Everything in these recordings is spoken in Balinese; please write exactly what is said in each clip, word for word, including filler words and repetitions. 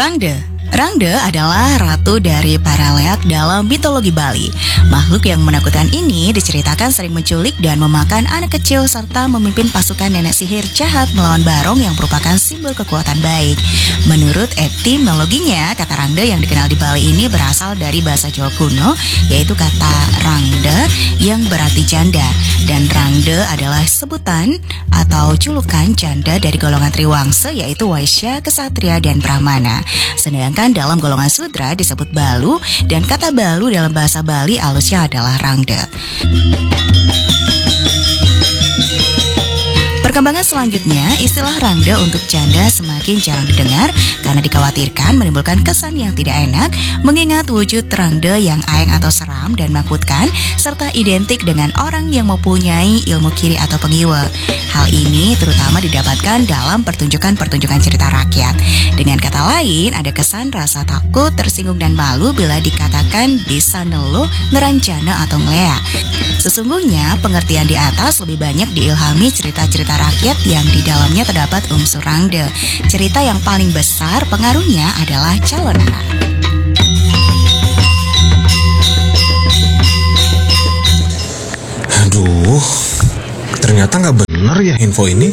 Rangde. Rangde adalah ratu dari para leak dalam mitologi Bali. Makhluk yang menakutkan ini diceritakan sering menculik dan memakan anak kecil serta memimpin pasukan nenek sihir jahat melawan barong yang merupakan simbol kekuatan baik. Menurut etimologinya, kata rangde yang dikenal di Bali ini berasal dari bahasa Jawa kuno, yaitu kata rangde yang berarti janda. Dan rangde adalah sebutan atau julukan janda dari golongan triwangsa, yaitu waisya, kesatria, dan brahmana. Sedangkan dalam golongan sudra disebut balu, dan kata balu dalam bahasa Bali alusnya adalah rangde. Perkembangan selanjutnya, istilah rangde untuk janda semakin jarang didengar karena dikhawatirkan menimbulkan kesan yang tidak enak, mengingat wujud rangde yang aeng atau seram dan menakutkan, serta identik dengan orang yang mempunyai ilmu kiri atau pengiwa. Hal ini terutama didapatkan dalam pertunjukan-pertunjukan cerita rakyat. Dengan kata lain, ada kesan rasa takut, tersinggung, dan malu bila dikatakan bisa neluh, ngerancana, atau ngeleak. Sesungguhnya, pengertian di atas lebih banyak diilhami cerita-cerita rakyat yang di dalamnya terdapat unsur rangde. Cerita yang paling besar pengaruhnya adalah Calonara. Aduh, ternyata nggak bener ya info ini.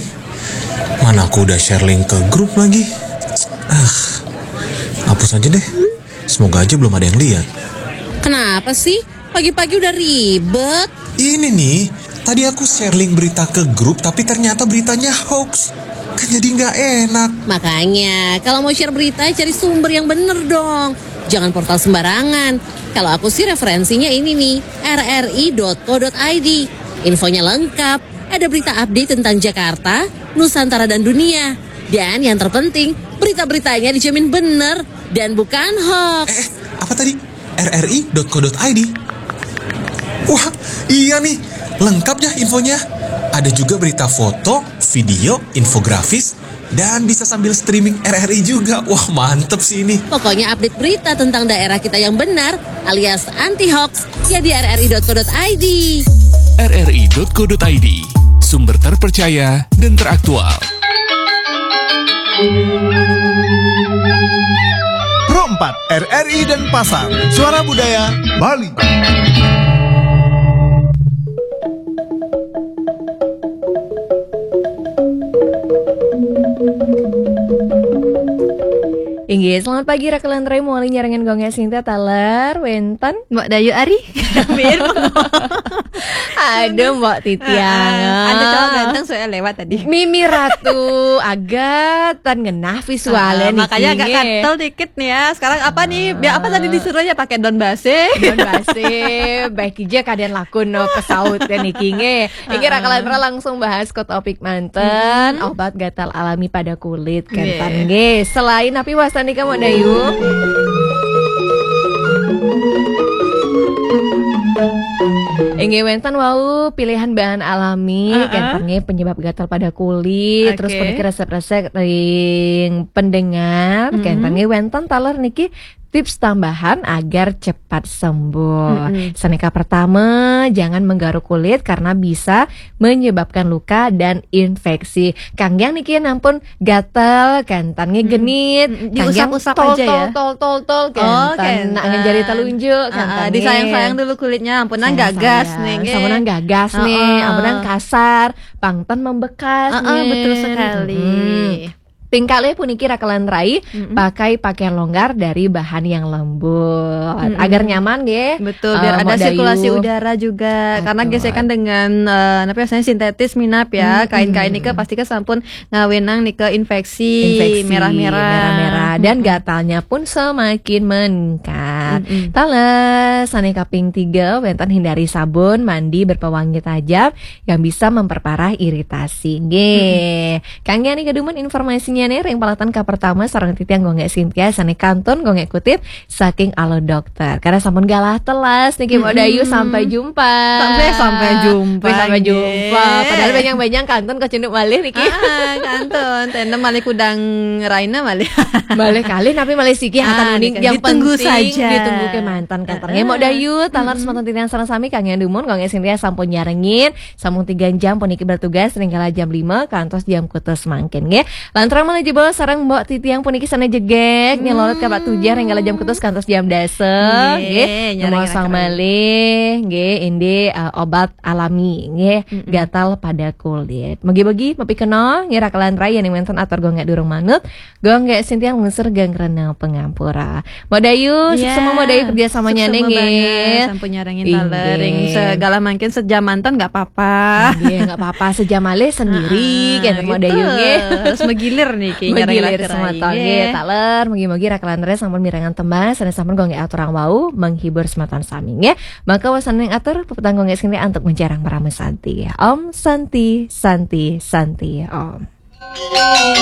Mana aku udah share link ke grup lagi. Ah, hapus aja deh. Semoga aja belum ada yang lihat. Kenapa sih? Pagi-pagi udah ribet. Ini nih, tadi aku share link berita ke grup tapi ternyata beritanya hoax. Kan jadi nggak enak. Makanya, kalau mau share berita, cari sumber yang bener dong. Jangan portal sembarangan. Kalau aku sih referensinya ini nih, rri.co.id. Infonya lengkap, ada berita update tentang Jakarta, Nusantara dan dunia. Dan yang terpenting, berita-beritanya dijamin bener dan bukan hoax. Eh, apa tadi? rri.co.id. Wah, iya nih, lengkap ya infonya. Ada juga berita foto, video, infografis, dan bisa sambil streaming R R I juga. Wah, mantep sih ini. Pokoknya update berita tentang daerah kita yang benar alias anti hoax ya di rri.co.id. rri.co.id, sumber terpercaya dan teraktual. Pro empat, R R I dan Pasar, Suara Budaya Bali. Inggih, selamat pagi Rakelan Rai, mawali nyarengan Gong Sinta taler wénten. Mbok Dayu Ari. Biar Aduh, Mbok Titiang. Ada cowok ganteng soalnya lewat tadi. Mimi Ratu, agak tan ngenah visualnya. Makanya agak katel dikit nih ya. Sekarang apa nih? Biar apa tadi disuruh ya pakai daun base. Daun base, baik aja keadaan lakun no pesaut ya niki nggih. Inggih Rakelan Rai langsung bahas ke topik manten, obat gatal alami pada kulit. Kenten nggih. Selain napi wastan nika Mbok Dayu? Inggih wénten wau pilihan bahan alami, kenten nggih penyebab gatal pada kulit, terus puniki resep-resep ring pendengar, kenten nggih wénten taler niki tips tambahan agar cepat sembuh. Saneka pertama, jangan menggaruk kulit karena bisa menyebabkan luka dan infeksi. Kanggiang niki nampun gatel, kenten nggih genit, diusap-usap aja ya. Tol tol tol tol kenten. Nak ngejari telunjuk, kenten. Disayang-sayang dulu kulitnya, ampunan gagas nih. Ampunan gagas nih, ampunan kasar, pangten membekas nih. Betul sekali. Ping kalih puniki Rakelan Rai, pakai pakaian longgar dari bahan yang lembut agar nyaman nggih. Betul, biar ada sirkulasi udara juga karena gesekan dengan uh, apa biasanya sintetis minap ya. Kain-kain nika pasti ke sampun ngawenang nika infeksi, merah-merah. Merah-merah dan gatalnya pun semakin meningkat. Taler saneka ping tiga wénten hindari sabun mandi berpewangi tajam yang bisa memperparah iritasi. Nggih. Kangge nika dumun informasinya nih ring palatan ka pertama sareng titiang Gong Sintia sane kantun Gong Kutip saking Alo Dokter. Karena sampun galah telas niki Mbok Dayu, sampai jumpa. Sampai sampai jumpa. Sampai jumpa. Padahal banyak-banyak kantun kacunduk malih niki. Ah, kantun. Tenda malih kudang Raina malih. Malih kalih tapi malih siki hatan uning yang ditunggu penting saja. Tunggu ke mantan kater. Nggih, Mbok Dayu, taler semeton titiang sareng sami kangge dumun, kangge sing sampun nyarengin, sampun tiga jam puniki bertugas ring kala jam lima kantos jam kutus mangkin nggih. Lanturang malih jebos sareng Mbok titiang puniki sane jegeg, nggih, lolot ka Pak Tujah ring kala jam kutus kantos jam dasa nggih. Nggih, nyarengin malih nggih, indik, eh, obat alami nggih, gatal pada kulit. Mugi-mugi mapikenoh nggih, raka lan rai yen wenten atur gongge durung manut, gongge sintiang lungsur geng rena pangampura. Mbok Dayu, sukses Mbok Dayu kerja samanya nggih. Sampun nyarengin taler ring segala mangkin, sejam mantan nggak apa-apa. Nggih, nggak apa-apa, sejam malih sendiri kan Mbok Dayu nggih. Harus megilir niki, megilir semeton nggih. Taler, mugi-mugi raka lan rai sampun mirengang tembang sane sampun gongge aturang wau menghibur semeton sami nggih. Maka wasana ning atur pepetang gongge sing antuk mencerang Parama Santi. Om Santi, Santi, Santi, Om.